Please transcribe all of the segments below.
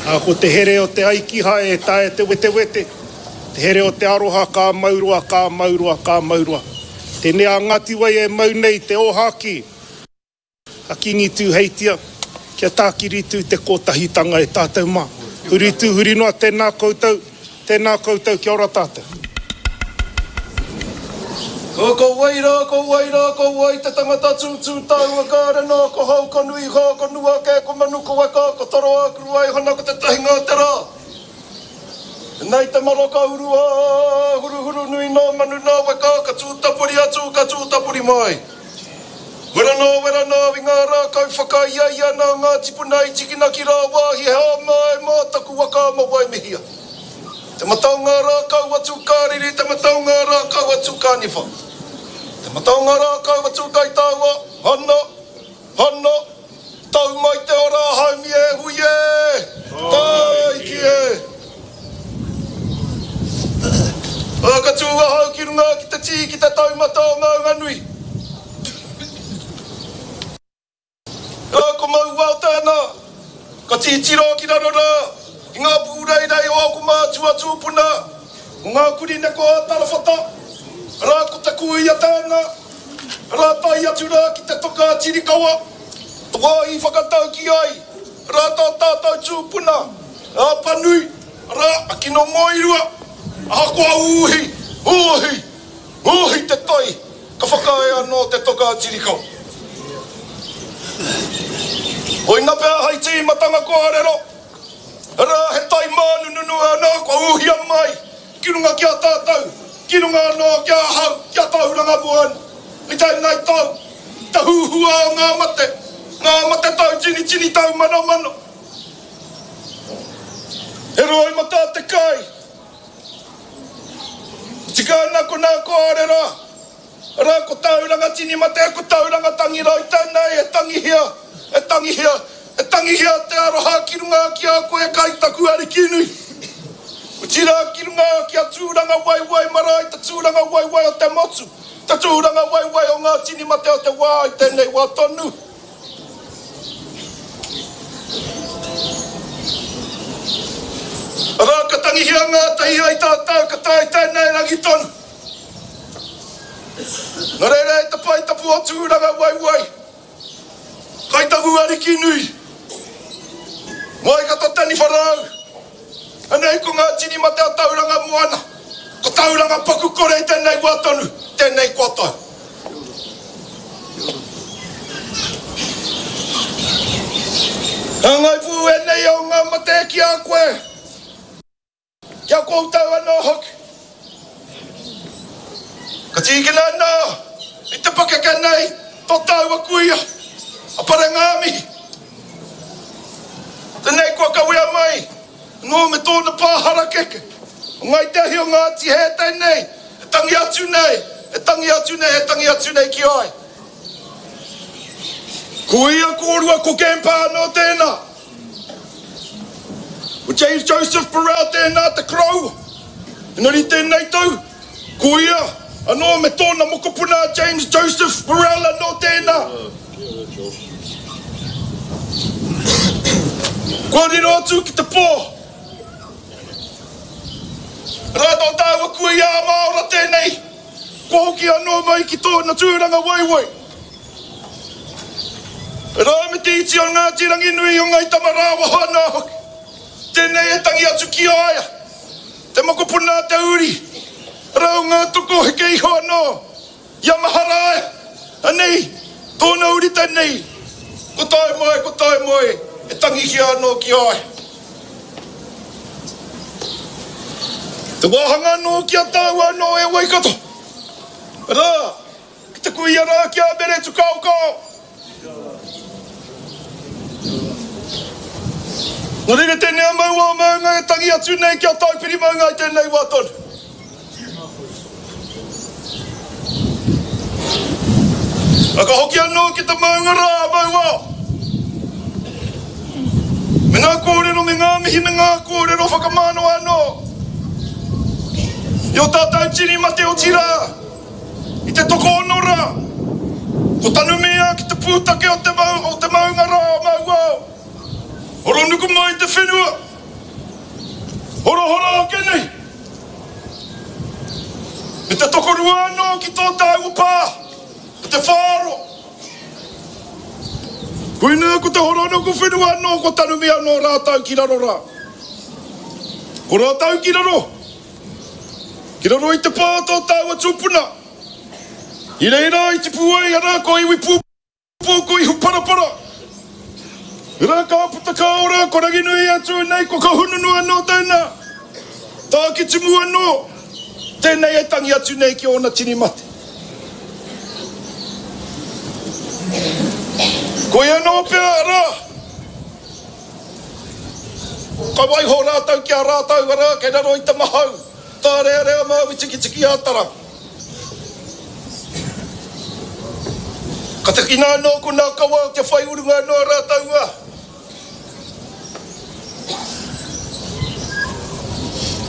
Ā, ko te here o te aikiha e taea te wetewete, te here o te aroha ka mau roa, ka mau roa, ka mau roa. Tēnei a Ngāti Wai e mau nei te ōhākī a Kīngi Tūheitia, kia tākiri tū te kōtahitanga e tātou mā. Huri tū, huri noa, tēnā koutou, tēnā koutou, kia ora tātou. Ko wai rā, ko wai rā, ko wai te tangata tūtū taua kāre nā, ko hau, ko nui hā, ko nua kē, ko manu, ko weka, ko toroa, ko ruaihana, ko te tahinga o te rā. Nei te maroka urua, huruhuru nui nā manu nā weka, ka tūtapori atu, ka tūtapori mai. Wera nā, wera nā, i ngā rākau whakaiaia nā ngā tipuna i tikina ki rāwāhi he hāmai mā taku waka ma Waimihia. Te mata o ngā rākau a Tūkāriri, te mata o ngā rākau a Tūkāniwha. Te mata o ngā rākau a Tūkaitaua, hana, hana, tau mai te ora haumi e hui e, tāiki e. Ā, ka tū ahau ki runga ki te tī ki te taumata o Maunganui. Rā ko Mauao tēnā, ka titiro ki raro rā, ki ngā pūreirei o ōku mātua tūpuna, o ngā kurī neko a Tarawhata, rā ko te kuia tēnā, rā tae atu rā ki te toka a Tirikawa, te wā i whakataukī ai rā tā tātou tūpuna, a Panui, rā a Kinomoirua, ahakoa ūhi, ūhi, ūhi te tai. Ka whakaae anō te toka a Tirikau. Koina pea hai tīmatanga kōrero, arā he tai mānununu anō kua ūhia mai ki runga ki a tātou, ki runga anō ki ahau, ki a Tauranga Moana, i tēnei tau, te huhua o ngā mate, ngā mate tau tinitini tau manomano. He roimata te kai. Tika ana ko nā kōrero, arā ko Tauranga tini mate, ko Tauranga tangi rau tēnei e tangihia, e tangihia, e tangihia te aroha ki runga ki a koe kai taku ariki nui. Otirā ki runga ki a Tūranga waiwai marae, te tūranga waiwai o te motu, te tūranga waiwai o ngā tini mate o te wā i tēnei wā tonu. Arā, ka tangihia ngātahi ai tātou, ka tae tēnei rangi tonu. Nō reira e te pae tapu o Tūrangawaewae, kai taku ariki nui, Waikato Taniwharau, anei ko ngā tini mate a Tauranga Moana, ko Tauranga paku kore i tēnei wā tonu, tēnei kua tau. Hāngai pū ēnei o ngā mate ki a koe, ki a koutou anō hoki. Ka tīkina anō i te pakeke nei tō tāua kuia, a Parengāmihi. Tēnei kua kawea mai anō me tōna pā harakeke, o Ngāi Te Ahi o Ngāti Hē tēnei. E tangi atu nei, e tangi atu nei, e tangi atu nei ki a ia. Ko ia kōrua ko Gempa anō tēnā. Ko James Joseph Burrell tēnā te koroua. Engari tēnei tau, ko ia anō me tōna mokopuna a James Joseph Burrell anō tēnā. Kua riro atu ki te pō. Rā tō tāua kuia a Māora tēnei, kua hoki anō mai ki tōna tūranga waiwai. Rā me te iti o Ngāti Ranginui o Ngai Tamarāwaho anō hoki, tēnei e tangi atu ki a ia, te mokopuna a te uri, rā o ngā toko heke iho anō. I a Maharaia, anei, tōna uri tēnei, ko tae mai, ko tae mai, e tangihia anō ki a ia. Te wāhanga anō ki a tāua anō e Waikato, arā, ki te kuia rā ki a Mere Tukaokao. Nō reira tēnei a Mauao Maunga e tangi atu nei ki a Taupiri Maunga i tēnei wā tonu. A ka hoki anō ki te maunga rā a Mauao. Me ngā kōrero, me ngā mihi, me ngā kōrero whakamānawa anō i ō tātou tini mate otirā i te tokoono rā, ko tanumia ki te pūtake o te, o te maunga rā o Mauao. Horonuku mai te whenua. Horahora ake nei! Me te tokorua anō ki tō tāua pā, ko te whāroa. Koinā ko te horonuku whenua anō kua tanumia anō rātou ki raro rā. Ko rātou ki raro, ki raro i te pā o tō tāua tupuna. I reira i tipu ai, arā, ko iwi pū. Pō ko Ihuparapara. Rā ka puta ka ora, ko Ranginui atu nei, ko Kahungunu anō tēnā. Tākitimu anō, tēnei e tangi atu nei ki ōna tini mate. Koia anō pea, arā, ka waiho rātou ki a rātou, arā, kei raro i te mahau, tārearea Māui Tikitiki a Tara. Ka takina anō ko nā kawa o te whai urunga anō a rātou a.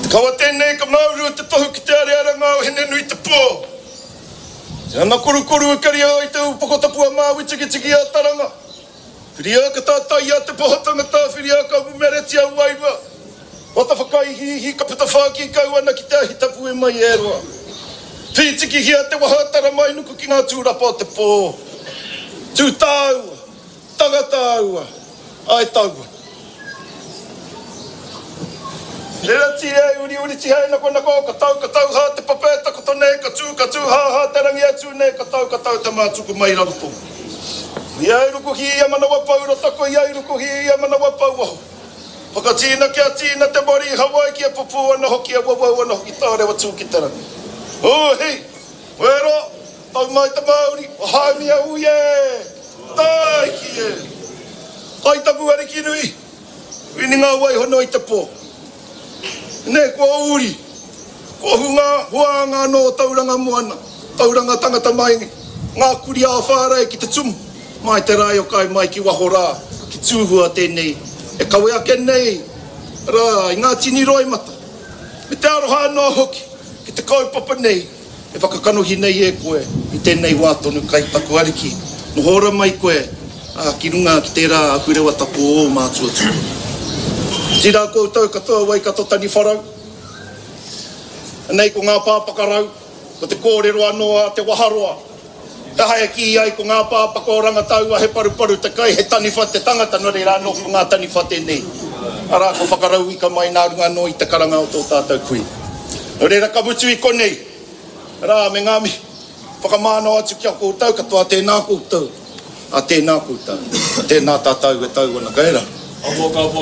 Te kawa tēnei ka māuru te tohu ki te arearanga o Hine-nui-te-pō. Te ana korukoru e karia ai te upoko tapu a Māui-tikitiki a Taranga. Whiria ka tātaia te poho tangata, whiria ka mumeretia wairua. Wata whakaihiihi ka puta whāki kau ana ki te ahi tapu e mai e roa. Whītikihia te waha taramainuku ki ngā tūrapa o te pō. Tū tāua, tanga tāua, ae taua. Rerati e uriuri tihei nakonako ka tau ka tau hā te papa e takoto nei ka tū ka tū hā hā te rangi e tū nei ka tau ka tau te mātuku mai raro tō. Ia i rukuhi ia manawa pou rota ko ia i rukuhi ia manawa pou waho. Whakatīna kia tīna te mari i Hawaiki e pupū ana hoki e wawau ana hoki tārewa tū ki te rangi. Ū hi! Wero! Tau mai te mauri! O Haumia ui e! Tāiki e! Kai taku ariki nui! Wini ngā wai hono i te pō. Nei kua uri! Kua hunga huānga anō o Tauranga Moana, Tauranga tangata mai ngā kuri ā-whārei ki te tumu, mai te rae o kai mai ki waho rā, ki Tūhua tēnei e kawe ake nei rā i ngā tini roimata, me te aroha anō hoki ki te kaupapa nei e whakakanohi nei e koe i tēnei wā tonu kai taku ariki, noho ora mai koe, ā, ki runga ki tērā ahurewa tapu o ō mātua tūpuna. Otirā koutou katoa Waikato Taniwharau. Anei ko ngā pāpakarau, ko te kōrero anō a Te Waharoa. He aha e kī ai ko ngā pāpaka o Rangataua he paruparu te kai, he taniwha te tangata, nō reira anō ko ngā taniwha tēnei. Arā, ko whakarauika mai nā runga anō i te karanga o tō tātou kui. Nō reira ka mutu i konei, arā, me ngā mihi whakamānawa atu ki a koutou katoa, tēnā koutou, ā, tēnā koutou, tēnā tātou e tau ana, kei rā. Amoka, amoka.